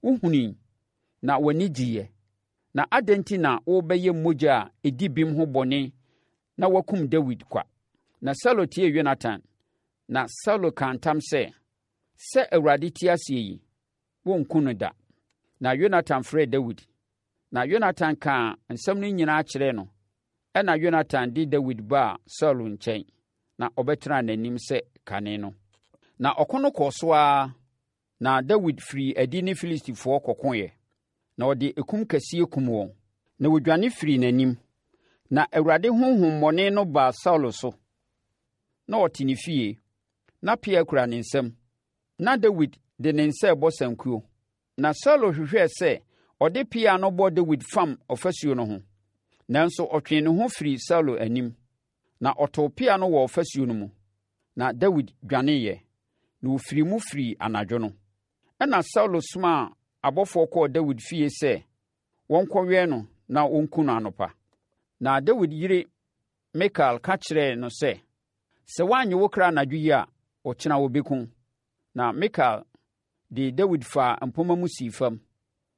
Wohunui, na w'ani gyeeɛ. Na adɛn nti na worebɛyɛ mogya a ɛdi bem ho bɔne na woakum Dawid kwa? Na Saulo tiee Yonatan, na Saulo kaa ntam sɛ, Sɛ Awurade te aseɛ yi, worenku no da. Na Yonatan frɛɛ Dawid, na Yonatan kaa nsɛm no nyinaa kyerɛɛ no. Ɛnna Yonatan de Dawid baa Saulo nkyɛn, na ɔbɛtenaa n'anim sɛ kane no. Na ɔko no kɔɔ so ara, na Dawid firii adi ne Filistifoɔ kɔkoeɛ, na ɔde ekum kɛseɛ kum wɔn, na wɔdwane firii n'anim. Na Awurade honhommɔne no baa Saulo so. Na ɔte ne fie, na pea kura ne nsam. Na Dawid de ne nsa rebɔ sankuo. Na Saulo hwehwɛɛ sɛ ɔde pea no bɔ Dawid fam ɔfasuo no ho, nanso ɔtwee ne ho firii Saulo anim, na ɔtoo pea no wɔ ɔfasuo no mu. Na Dawid dwaneeɛ, na ɔfirii mu firii anadwo no. Ɛnna Saulo somaa abɔfoɔ kɔɔ Dawid fie sɛ wɔnkɔwɛn no na wɔnku no anɔpa. Na Dawid yere Mikal ka kyerɛɛ no sɛ, Sɛ woannye wo kra anadwo yi a, ɔkyena wɔbɛku wo. Na Mikal de Dawid faa mpomma mu sii fam,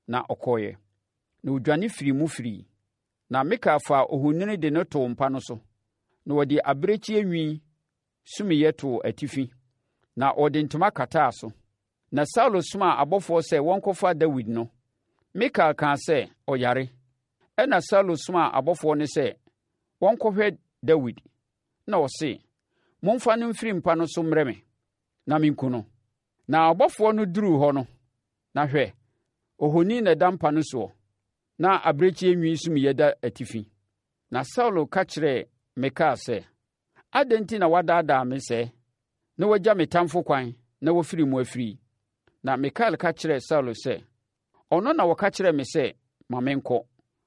na ɔkɔeɛ, na ɔdwane firii mu firii. Na Mikal faa ohoni de no too mpa no so, na ɔde abirekyie nwi sumiiɛ too atifi, na ɔde ntoma kataa so. Na Saulo somaa abɔfoɔ sɛ wɔnkɔfa Dawid no, Mikal kaa sɛ, Ɔyare. Ɛnna Saulo somaa abɔfoɔ no sɛ wɔnkɔhwɛ Dawid, na ɔse, Momfa no mfiri mpa no so mmrɛ me, na menku no. Na ɔbɔfoɔ no duruu hɔ no, na hwɛ, ohoni na ɛda mpa no soɔ, na abirekyie nwi sumiiɛ da atifi. Na Saulo ka kyerɛɛ Mikal sɛ, Adɛn nti na woadaadaa me sɛɛ, na woagya me tamfo kwan na wafiri mu afiri yi? Na Mikal ka kyerɛɛ Saulo sɛ, Ɔno na ɔka kyerɛɛ me sɛ, 'Ma menkɔ.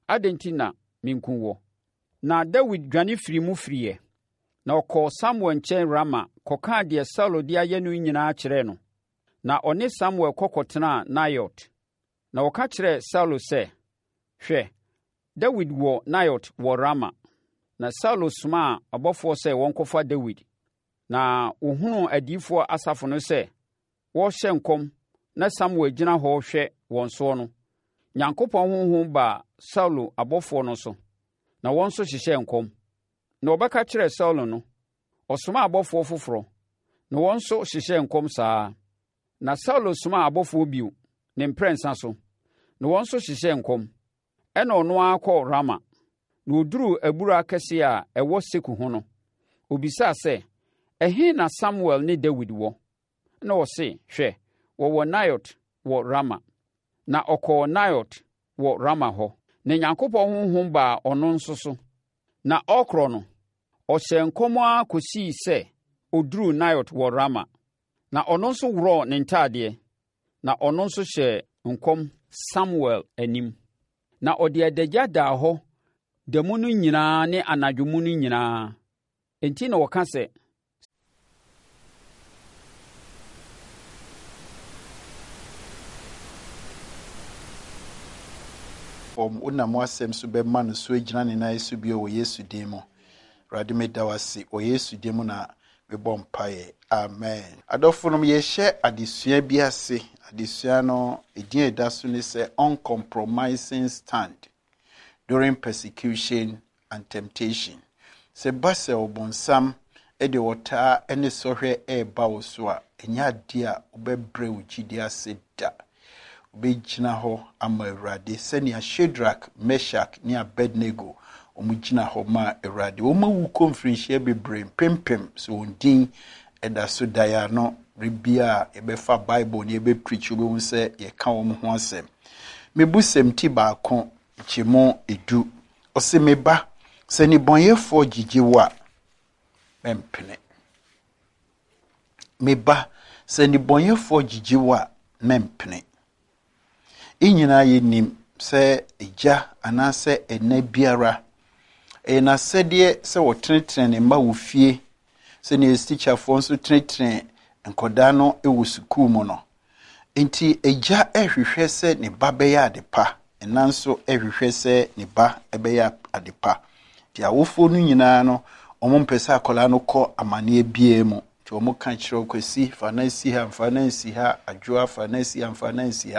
Adɛn nti na menku woɔ? Na Dawid dwane firii mu firiiɛ, na ɔkɔɔ Samuel nkyɛn Rama kɔkaa deɛ Saulo de ayɛ no nyinaa kyerɛɛ no. Na ɔne Samuel kɔ kɔtenaa Naiot. Na wɔka kyerɛɛ Saulo sɛ, Hwɛ, Dawid wɔ Naiot wɔ Rama. Na Saulo somaa abɔfoɔ sɛ wɔnkɔfa Dawid. Na wɔhunuu adiyifoɔ asafo no sɛ wɔrehyɛ nkɔm na Samuel gyina hɔ rehwɛ wɔn soɔ no, Nyankopɔn honhom baa Saulo abɔfoɔ no so, na wɔn nso hyehyɛɛ nkɔm. Na wɔbɛka kyerɛɛ Saulo no, ɔsomaa abɔfoɔ foforɔ, na wɔn nso hyehyɛɛ nkɔm saa ara. Na Saulo somaa abɔfoɔ bio, ne mprɛnsa so, na wɔn nso hyehyɛɛ nkɔm. Ɛnna ɔno ara kɔɔ Rama, na ɔduruu abura kɛseɛ a ɛwɔ Seku ho no, ɔbisaa sɛ, Ɛhe na Samuel ne Dawid wɔ? Ɛnna wɔse, Hwɛ, wɔwɔ Naiot wɔ Rama. Na ɔkɔɔ Naiot wɔ Rama hɔ. Na Nyankopɔn honhom baa ɔno nso so, na ɔrekorɔ no, ɔhyɛɛ nkɔm ara kɔsii sɛ ɔduruu Naiot wɔ Rama. Na ɔno nso worɔɔ ne ntadeɛ, na ɔno nso hyɛɛ nkɔm Samuel anim. Na ɔde adagya daa hɔ da mu no nyinaa ne anadwo mu no nyinaa. Enti na wɔka sɛ. Fam, wonam w'asɛm so bɛma no so agyina ne nan so bio wɔ Yesu din mu. Awurade meda wo ase wɔ Yesu din mu na mebɔ mpaeɛ. Amen. Adɔfonom, yɛrehyɛ adesua bi ase. Adesua no, edin a ɛda so ne sɛ Uncompromising Stand During Persecution and Temptation. Sɛ ɛba sɛ ɔbonsam de ɔtaa ne sɔhwɛ reba wo so a, ɛnyɛ adeɛ a wobɛbrɛ wo gyidie ase da. Wobɛgyina hɔ ama Awurade sɛnea Shadrach, Meshach ne Abednego wɔgyina hɔ maa Awurade. Wɔawu kɔ mfirinhyia bebree mpempem, so wɔn din da so da yɛn ano. Bere biara a yɛbɛfa Bible na yɛbɛpreach, wobɛhu sɛ yɛka wɔn ho asɛm. Mebusɛm ti baako, nkyɛmu edu. Ɔse, Me ba, sɛ nnebɔneyɛfoɔ gyegye wo a, mɛmpene. Me ba, sɛ nnebɔneyɛfoɔ gyigye wo a, mɛmpene. Yɛn nyinaa yɛnim sɛ agya anaasɛ ɛna biara, ɛyɛ n'asɛdeɛ sɛ ɔtenetene ne mma wɔ fie, sɛdeɛ tikyafoɔ nso tenetene nkwadaa no wɔ sukuu mu no. Enti agya rehwehwɛ sɛ ne ba bɛyɛ ade pa, ɛna nso rehwehwɛ sɛ ne ba bɛyɛ ade pa. Nti awofoɔ no nyinaa no, wɔmpɛ sɛ akwadaa no kɔ amaneɛ biara mu. Nti wɔka kyerɛ wo, Kwasi, fa no si ha, mfa no nsi ha, Adwoa, fa no si ha, mfa no nsi ha.